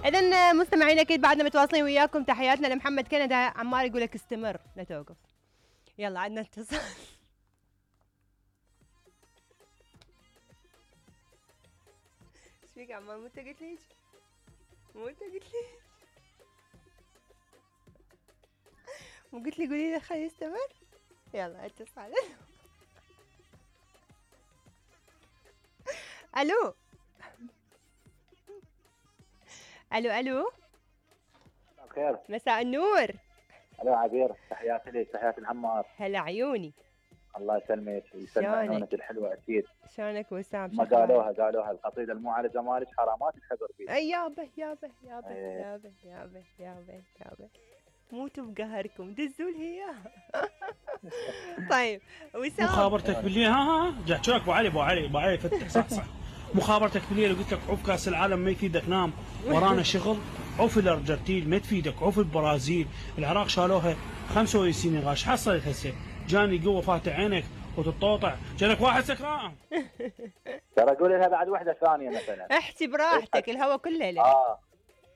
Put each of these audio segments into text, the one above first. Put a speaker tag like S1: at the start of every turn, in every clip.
S1: اذا مستمعين اكيد بعدنا متواصلين وياكم. تحياتنا لمحمد كندا. عمار يقول لك استمر لا توقف. يلا عندنا اتصال. ايش فيك عمار؟ مو انت قلت لي هيك؟ مو انت قلت لي؟ مو قلت لي قولي له خليه يستمر؟ يلا اتصال. الو الو الو.
S2: خير.
S1: مساء النور.
S2: الو عبير، تحياتي لك، تحياتي لعمار.
S1: هلا عيوني.
S2: الله يسلمك ويسلم عيونك الحلوه اكيد.
S1: شلونك وسام؟
S2: ما قالوها القصيده المعالجه مالك حرامات الخبر بيك.
S1: اي يابا يابا يابا يابا يابا يابا يابا موتوا بقهركم دزوا لي اياها. طيب وسام،
S3: مخابرتك بالليل ها جاكوك ابو علي فتح صح مخابرتك بالليل قلت لك عوف كاس العالم ما يفيدك، نام ورانا شغل. عوف الارجنتين ما تفيدك، عوف البرازيل، العراق شالوها 25 نقاش. حصلت هسه جاني قوه فاتح عينك وتطوطع جالك واحد سكران.
S2: ترى قولي لها بعد وحده ثانيه مثلا.
S1: احكي براحتك الهوا كله لك.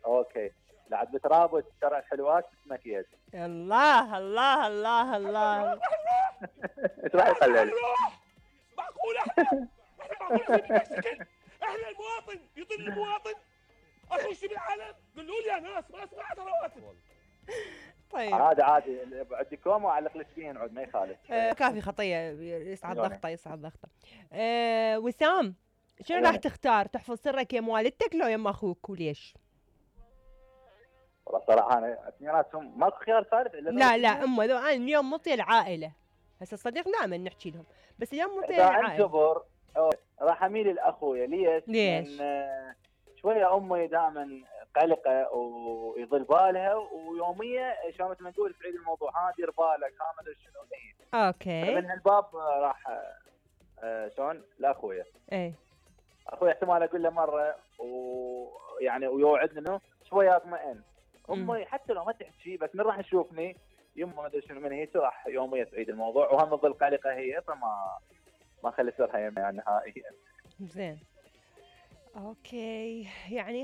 S2: اوكي. بعد بترابط شرع حلوات اسمك يد.
S1: الله الله الله الله.
S2: ايش راح يقلل؟
S3: معقول احنا احنا المواطن يضل المواطن اخش بالعالم. قولوا لي يا ناس ما اسمع رواتب.
S1: طيب
S2: عادي عندي كوم واعلق لك فيه نعود ما يخالف.
S1: كافي خطيه يصعد ضغطه يصعد ضغطه. وسام شنو راح تختار؟ تحفظ سرك يم والدتك لو يم اخوك وليش؟
S2: والله صراحه انا اثنيناتهم ماكو خيار ثالث الا
S1: لا امه انا اليوم مطي العائله. هسه الصديق دائما نحكي لهم بس اليوم مطي
S2: العائله.
S1: العائله.
S2: جبر راح اميل لاخويا. ليش؟ لان شويه امي دائما قلقه ويضل بالها ويوميه شلون مثل ما نقول تعيد الموضوع ها دير بالك ها ما ادري شنو هي.
S1: اوكي.
S2: من هالباب راح شلون لاخويا.
S1: ايه
S2: اخوي احتمال اقول له مره ويعني ويوعدني انه شويه اطمئن. امي حتى لو ما تحكي بس من راح تشوفني يمه ما ادري شنو من هي راح يوميا تعيد الموضوع وهم تظل قلقه هي فما خلي سرها يعني نهائيا.
S1: زين اوكي يعني